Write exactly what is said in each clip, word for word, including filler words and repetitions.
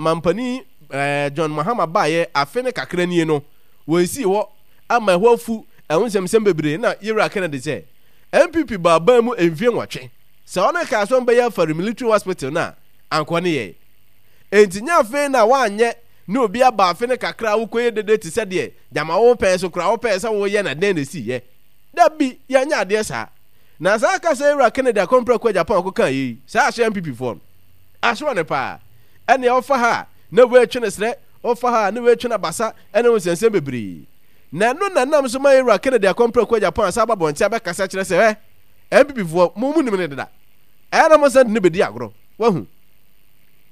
Mampanin eh, John Mahama baeɛ afe ne kakra nie no, wɔnsii hɔ ama ɛhɔ afu ɛho nsɛmsɛm bebree. Na Yewura Kennedy sɛ N P P baa ban mu mfie nwɔtwe, sɛ ɔno kaa sɛ ɔmbɛyɛ Afari Military Hospital no a, anka ɔne yɛe. Enti nyɛ afei na woanyɛ ne obi aba afe ne kakra a wokɔyɛ dede te sɛ deɛ gyama wo pɛn so koraa wopɛɛ sɛ woyɛ na dɛn na ɛsiiɛ. Dabi, yɛnyɛ adeɛ saa. Na saa kasa Yewura Kennedy akɔmprɛko Japan kɔkaa yei, saa ahyɛ N P P foɔ no. Asoa no paa. Ɛnea ɔfa ha a, na wei retwe no serɛ, ɔfa ha a, na wei retwe no abasa, ɛne ho nsɛnsɛm bebree. Na ɛno na ɛnam so ma Yewura Kennedy akɔmprɛko Japan asan aba abɔnten abɛkasa kyerɛ sɛ, hɛ, N P P foɔ, mo mo nim no deda. Ɛyɛ na mo san de no bɛdi agorɔ. Wahu?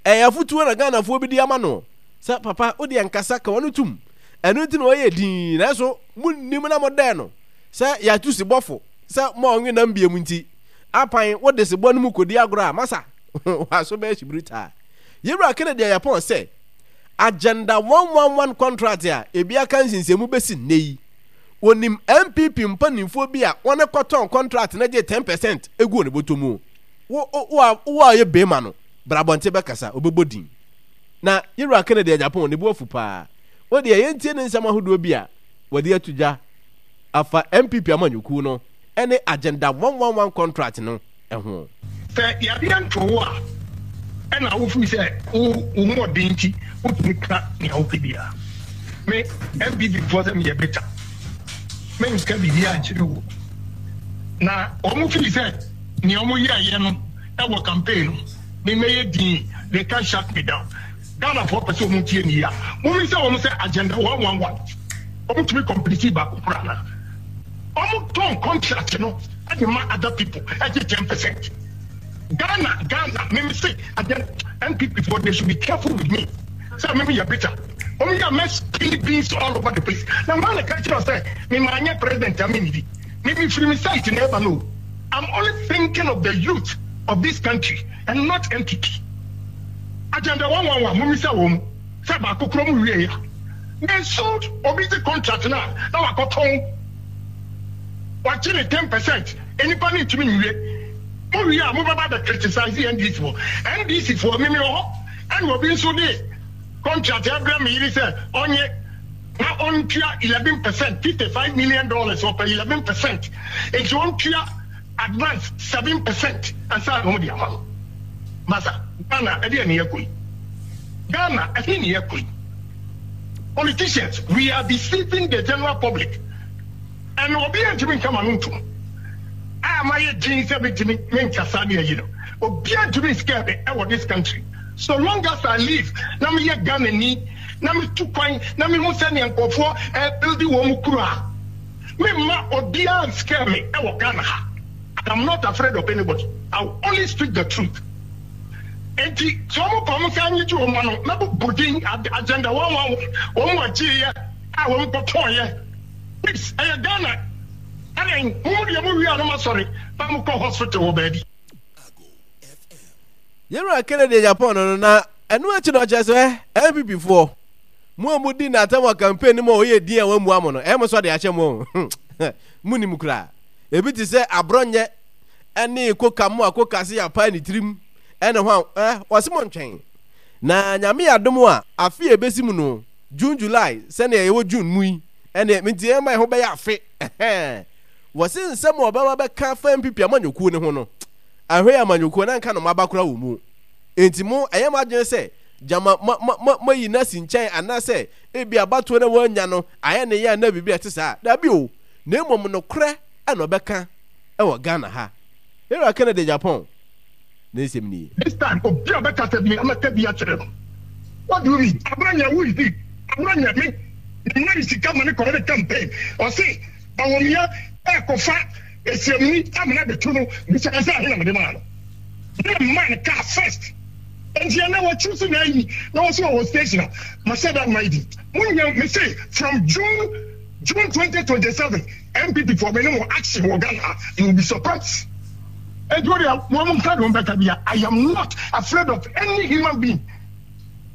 Ɛyɛ afotuo na Ghanafoɔ bi de ama no sɛ, papa, wo deɛ nkasa, ka w'ano tum. Ɛno nti na ɔyɛ dinn, nanso monnim na modɛɛ no sɛ yɛatu sebɔfo sɛ ma ɔnwe nam biom nti, apan wode sebɔ no mu kɔdi agorɔ a, masa, w'aso bɛyɛ hyibiritaa. Yewura Kennedy Agyapong sɛ, Agenda one one one contract a ebi aka nsinsɛnmu bɛsi nnɛ yi, onim N P P mpanimfoɔ bi a wɔne kɔtɔn contract no gye ten percent gu wɔn bɔtɔ mu. Wo, wo, a, wo a ɔyɛ bema no, bra abɔnten bɛkasa, ɔbɛbɔ din. Na Yewura Kennedy Agyapong ne bo afu paa. Wo deɛ, yɛntie ne nsɛm ahodoɔ bi a wɔde ato dwa afa N P P amanyɔkuo no ne Agenda one one one contract no ho. Sɛ yadeɛ nto wo a, ɛna wofiri sɛ wo wo ho ɔden nti wotumi ka nea wopɛ biara. Me N P P foɔ sɛ meyɛ bitter, menka biribiara nkyerɛ wo. Na wɔn firi sɛ nea wɔn yɛɛyɛ no ɛwɔ campaign no, me mɛyɛ din, they can't shut me down. Ghanafoɔ pɛ sɛ wɔn tie me yie a, mommisa wɔn sɛ Agenda one one one wɔn tumi complete baako koraa anaa? Wɔn tɔn contract no de ma other people ɛgye ten percent. Ghana, Ghana, me me se agenda N P P foɔ, they should be careful with me sɛ me me yɛ bitter. Wɔn yɛ mɛ spill beans all over the place. Na wɔn na ka kyerɛ sɛ me maa nyɛ president a me nidi. Me me firi me site na ɛba no. I'm only thinking of the youth of this country and not N P P. Agenda one one one, mo misa wɔn sɛ baako koro mu wie ya. They sold obi gye contract na na wakɔtɔn, wagye ne ten percent, nipa ne ntumi nwie. Mo wie a, mo bɛba bɛ criticize N D C foɔ. N D C foɔ, mimi wɔ hɔ ɛna obi nso de contract ɛbrɛ mi yiri sɛ ɔnye na ɔntua eleven percent, fifty five million dollars, ɔpɛ eleven percent, nti ɔntua advance seven percent ansa na wɔn de ama no. Masa, Ghana, ɛde ɛne yɛ kɔ yi? Ghana, ɛhe ne yɛ kɔ yi? Politicians, we are deceiving the general public and obi a ntumi nka ma no ntum a ma yɛ din sɛ metumi menkasa ne ayi no, obi a ntumi nscare me ɛwɔ this country. So long as I live na meyɛ Ghana ni na metu kwan na mehu sɛnea nkurɔfoɔ ɛbuild wɔn mu kuro a, memma obiara nscare me ɛwɔ Ghana ha. I'm not afraid of anybody. I will only speak the truth. Enti sɛ wɔn kɔ wɔn nsa nye gye wɔn ano mɛbobɔ din Agenda one one one wɔn agyeeɛ a wɔn kɔtɔɔyɛ. Please, ɛyɛ Ghana ɛnɛ mo mu deɛ mo wie a no ma sɔre na mo kɔ hospital wɔ baabi. Yɛwura Kennedy Agyapong no no na ɛno akyi no ɔkyerɛ sɛ N P P foɔ, mo a modi n'atam wɔ campaign no mu a ɔyɛ din a wammua mo no, ɛyɛ mo sɛ ɔde ahyɛ mo o, mo nim koraa. Ebi te sɛ aborɔnyɛ ɛne koka mo a koka se yɛapae ne tirim ɛne ho a ɛ wɔse mo ntwɛn na Nyame yɛ adom a, afe a ɛbɛsi mu no, June, July, sɛnea yɛwɔ June mu yi, ɛne nti ɛma ɛho bɛyɛ afe ɛhɛn. Wɔse nsɛm a ɔbɛba bɛka fa N P P amanyɔkuo no ho no, ahwɛ yɛ amanyɔkuo na nka no maba koraa wɔ mu. Enti mo ɛyɛ mo adwene sɛ gyama ma ma ma mayi no asi nkyɛn anaasɛ ebi abatoɔ na wɔanya no ayɛ ne yɛ anaa biribi a ɛte saa? Dabi o, na mmom nokorɛ ɛna ɔbɛka ɛwɔ Ghana ha. Yɛwura Kennedy Agyapong ne nsɛm nie. This time obi a bɛkasa bi amɛka bi akyerɛ no. What do you mean? Abranya, who is he? Abranya, me mema ne sika ma ne kɔyɛ ne campaign. Ɔse Bawumia ɛkɔfa esiamuni amena bɛtu no, bisa sɛ ahe na mede maa no. Me na mmaa no car first. Nti ɛnɛ wɔkyi so na ayi na wɔso wɔ station a mahyɛ da ma yi. Munya me say from June June twenty twenty-seven N P P for me no more action wɔ Ghana, you will be surprised. Nti wo deɛ wɔn nka de wɔn bɛka bia, I am not afraid of any human being.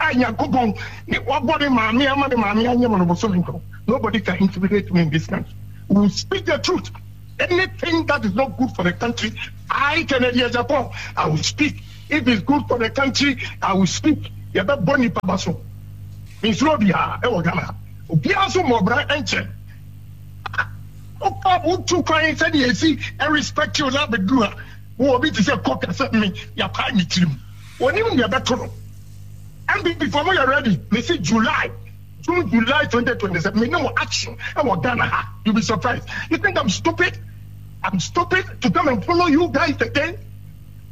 A Nyankopɔn ne wabɔ ne maame ama ne maame anyɛ mo no bosome nkron. Nobody can intimidate me in this country. We will speak the truth. Anything that is not good for the country, I, Kennedy Agyapong, I will speak. If it's good for the country, I will speak. Yɛbɛbɔ nipa ba so. Mensuro obiara ɛwɔ Ghana ha. Obiara nso mmɔ ɔbra nkyerɛ. Wokɔ wotu kwan sɛdeɛ ɛsi respect you na abɛduru ha. Wowɔ obi te sɛ kɔka sɛ me yɛapae me tirim. Onim deɛ ɛbɛto no. N P P foɔ, mo yɛ ready? Mesi July, June, July twenty twenty-seven, me ne mo action ɛwɔ Ghana ha. You be surprised. You think I'm stupid? I'm stupid to come and follow you guys again?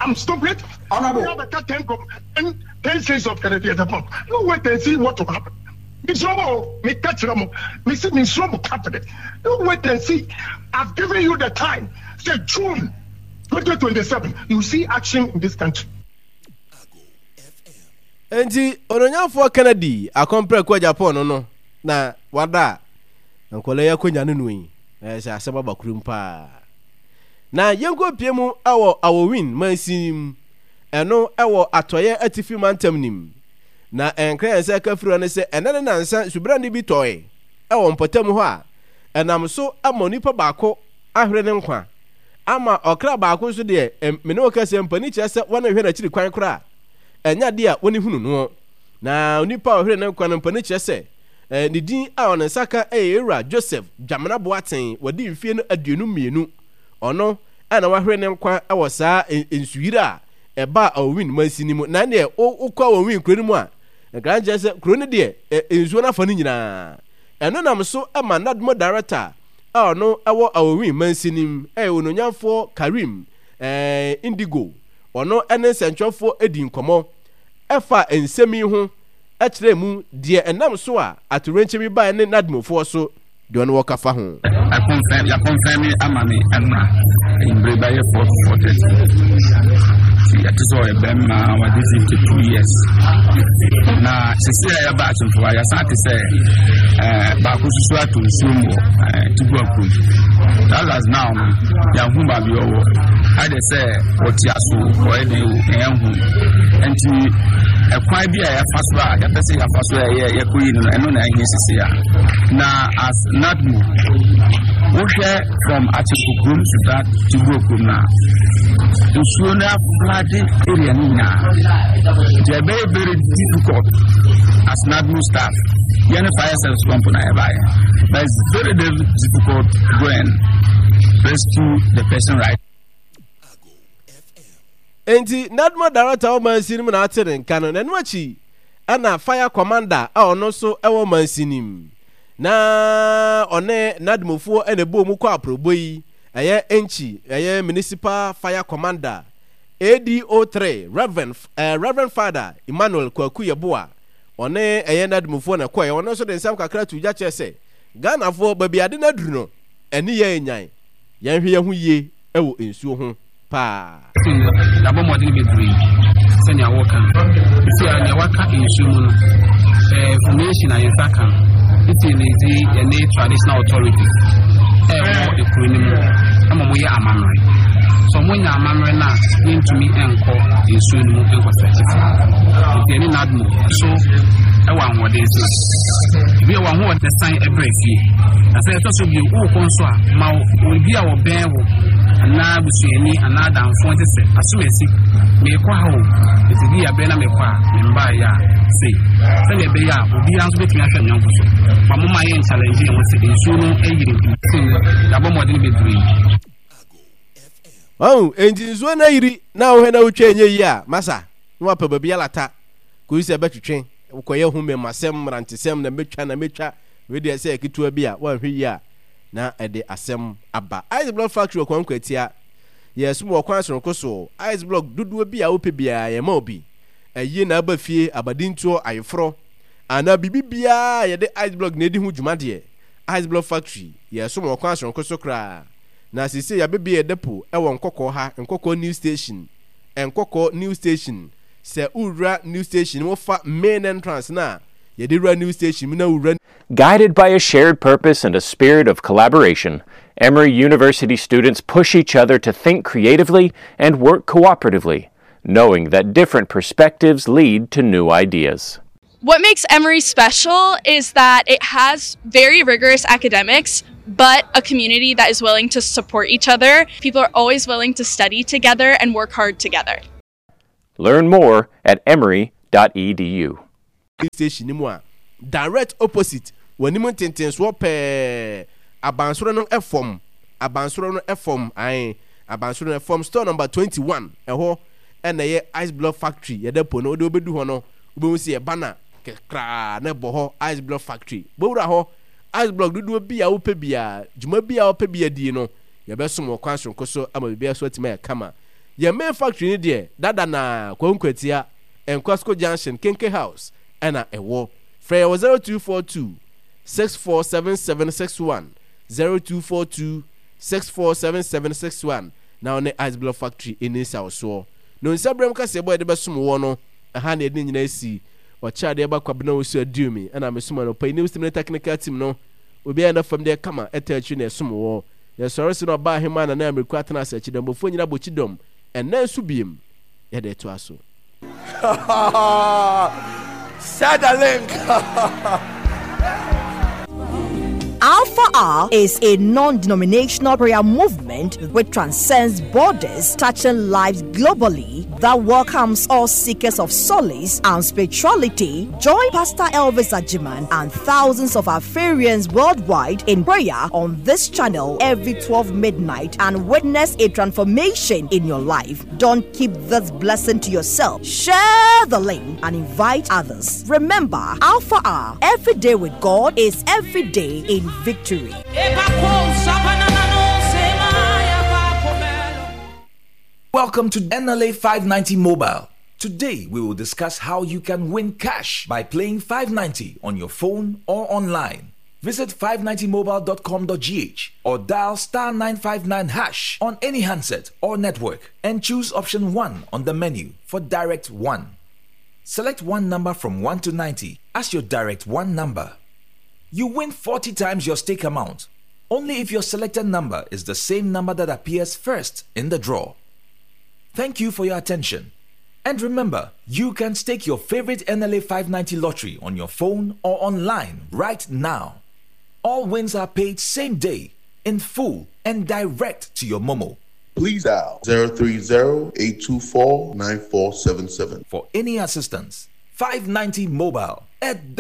I'm stupid? Honorable. We have a ten, ten, ten states of Kennedy Agyapong. You wait and see what will happen. Misro mo, me catch mo, me see misro mo cabinet. You wait and see. I've given you the time. Say June twenty twenty-seven, you see action in this country. Nti Ononyamfoɔ Kennedy Akɔmprɛko Agyapong no no na wada a nkɔla yi akonnwa no no yi na ɛsɛ asɛm aba kurom paa. Na yɛnkɔ pie mu ɛwɔ Awowin mansin mu, ɛno ɛwɔ Atɔeɛ Atifi Mantam nim. Na ɛnkra yɛn sɛ ɛka firi hɔ ne sɛ ɛnɛ ne nansa subrane bi tɔe ɛwɔ mpɔtam hɔ a ɛnam so ama onipa baako ahwere ne nkwa, ama ɔkra baako nso deɛ, mene wo kɛsɛ mpani kyerɛ sɛ wɔne hwɛ n'akyiri kwan koraa ɛnyɛ adeɛ a wɔne hunu noɔ. Na onipa a ɔhwere ne nkwa no, mpani kyerɛ sɛ ne din a ɔne nsa ka ɛyɛ Ewura Joseph Dwamena Boateng, wɔde mfie no aduonu mmienu. Ɔno ɛna wahwere ne nkwa ɛwɔ saa nsuyiri a ɛba Awowin mansin mu. Na deɛ wokɔ Awowin kuro no mu a, nkran kyerɛ sɛ kuro no deɛ, nsuo no afa no nyinaa. Ɛno nam so ma NADMO director a ɔno ɛwɔ Awowin mansin mu, ɛyɛ Ononyamfoɔ Karim ɛɛ Indigo, ɔno ɛne nsɛntwerɛfoɔ edi nkɔmɔ ɛfa nsɛm yi ho, ɛkyerɛ mu deɛ ɛnam so a atorenkyɛ bi baeɛ ne NADMOfoɔ so deɛ ɔno wɔka fa ho. Yɛaconfirm ama me ɛnora mbere bɛyɛ four to four thirty nti yɛte sɛ ɔyɛ bɛrima, wade fifty two years. Na sisi a yɛba Akyemfoa, yɛsan te sɛ ɛɛ baako soso ato nsuo mu wɔ ɛɛ Tigua kurom. That as now no, yɛahu baabi ɔwɔ ayɛ sɛ ɔte aso, ɔyɛ den o, yɛn ho nti ɛkwan bi a yɛfa so a yɛpɛ sɛ yɛfa so a yɛ yɛkɔ yi no no ɛno na ɛhia sisi a. Na as NADMO, wohwɛ from Akyemfo kurom to that Tigua kurom na nsuo no aflood area no nyinaa, nti ɛbɛyɛ very difficult as NADMO staff, yɛne fire service company na yɛbaeɛ, but it's very very difficult to go and rescue the person, right? Nti NADMO director wɔ mansin mu na ate ne nka no. N'ano akyi ɛna fire commander a ɔno nso ɛwɔ mansin mu na ɔne NADMOfoɔ ɛna ɛbɔ mu kɔ aprɔbɔ yi, ɛyɛ Enkyi, ɛyɛ municipal fire commander A D O three Reverend uh, Reverend Father Emmanuel Kwaku Yeboa, ɔne ɛyɛ NADMOfoɔ na ɛkɔɛ. Ɔno nso de nsɛm kakra to gya kyerɛ sɛ Ghanafoɔ, baabi ade no aduru no, ɛne yɛn nyan yɛnhwɛ yɛn ho yie ɛwɔ nsuo ho paa. Yɛabɔ mmɔden bebree sɛnea wɔka no sisi a nea waka nsuo mu no, ɛɛ information a yɛnsa ka no nti ne dzi yɛne traditional authorities ɛwɔ ekuro no mu ɛma mo yɛ amammerɛ sɛ ɔmo nya amammerɛ no a, yɛntumi nkɔ nsuo no mu nkɔsɛkye. Nti ɛne NADMO so ɛwɔ ahoɔden so ebi ɛwɔ ahoɔden san ɛbrɛ fie. Na sɛ ɛtɔ so bio, wowɔ kɔ nso a, ma obi a wɔbɛn wo anaa busuani anaa adamfoɔ nte sɛ asomasi, meekɔ ha o, nti bi abɛn na meekɔ a membaeɛ a sei, sɛdeɛ ɛbɛyɛ a obiara nso bɛtumi ahwɛ nyɔnko so. Ma moma yɛ nchallenge yɛn ho sɛ nsuo no ayiri nti yɛabɔ mmɔden bebree. Ɔn enti nsuo no ayiri na wohwɛ na wotwa ɛnyɛ yie a, masa na wapɛ baabi alata kɔyi sɛ ɛbɛtwetwe wokɔyɛ ho mmɛmasɛm mmerantesɛm na mɛtwa na mɛtwa wei deɛ sɛ ketewa bi a woanhwɛ yie a na ɛde asɛm aba. Ice Block Factory wɔ kwan kwatia, yɛsom wɔ kwan soronko so. Ice block dodoɔ bi a wopɛ biara yɛma wo bi. Ɛyie na aba fie, abadintoɔ, ayeforɔ anaa biribi biara a yɛde ice block na ɛdi ho dwuma deɛ, Ice Block Factory yɛsom wɔ kwan soronko so koraa. Na seesei yɛabɛbie yɛ depo ɛwɔ Nkɔkɔɔ ha, Nkɔkɔɔ New Station. Nkɔkɔɔ New Station, sɛ wowura New Station, wofa main entrance na yɛde wura New Station mu na wowura Guided by a shared purpose and a spirit of collaboration, Emory University students push each other to think creatively and work cooperatively, knowing that different perspectives lead to new ideas. What makes Emory special is that it has very rigorous academics, but a community that is willing to support each other. People are always willing to study together and work hard together. Learn more at emory dot edu. dot e d u. Station no mu a, direct opposite w'anim ntentensoɔ pɛɛ, abansoro no fam, abansoro no fam, ae, abansoro no fam, store number twenty-one, ɛhɔ ɛna ɛyɛ Ice Block Factory, yɛda po no, wode wobɛdu hɔ no, wobɛhu sɛ yɛ banner kraa na ɛbɔ hɔ, Ice Block Factory. Bɔwura hɔ, Ice Block dodoɔ bi a wopɛ biara, dwuma bi a wopɛ bi adie no, yɛbɛsom wɔ kwan soronko so ama biribiara so atumi ayɛ kama. Yɛn main factory no deɛ, dada na Kwahu Nkwatia, Nkwasko Junction, Kenke House, ɛna ɛwɔ. Frɛ yɛ wɔ zero two four two, six four seven seven six one, zero two four two, six four seven seven six one, na wo ne Ice Block Factory ɛni nsawosoɔ. No nsa berɛm kaseɛbɔ a yɛde bɛsom woɔ no, ɛha na yɛde ne nyinaa asi. Ɔkyɛ adeɛ ba Kwabena Owusu Aduomi, ɛna mesom anɔpa yi News Team ne technical team no, obiara na fam deɛ kama ɛta akyiri na ɛsom woɔ. Yɛsɔre so na ɔbaa ahemmaa Nana Amiriko atena ase akyidɔmbɔfoɔ nyina bɔ kyidɔm, ɛnnɛ nso biem yɛde ɛtoa so. Share the link. Alpha Hour is a non-denominational prayer movement which transcends borders, touching lives globally, that welcomes all seekers of solace and spirituality. Join Pastor Elvis Ajiman and thousands of Alpharians worldwide in prayer on this channel every twelve midnight and witness a transformation in your life. Don't keep this blessing to yourself. Share the link and invite others. Remember, Alpha Hour, every day with God is every day in victory. Welcome to N L A five ninety Mobile. Today we will discuss how you can win cash by playing five ninety on your phone or online. Visit five ninety mobile dot com dot g h or dial star nine five nine hash on any handset or network and choose option one on the menu for Direct one. Select one number from one to ninety as your Direct one number. You win forty times your stake amount, only if your selected number is the same number that appears first in the draw. Thank you for your attention. And remember, you can stake your favorite N L A five ninety lottery on your phone or online right now. All wins are paid same day, in full, and direct to your Momo. Please dial zero three zero, eight two four, nine four seven seven. For any assistance, five ninety Mobile at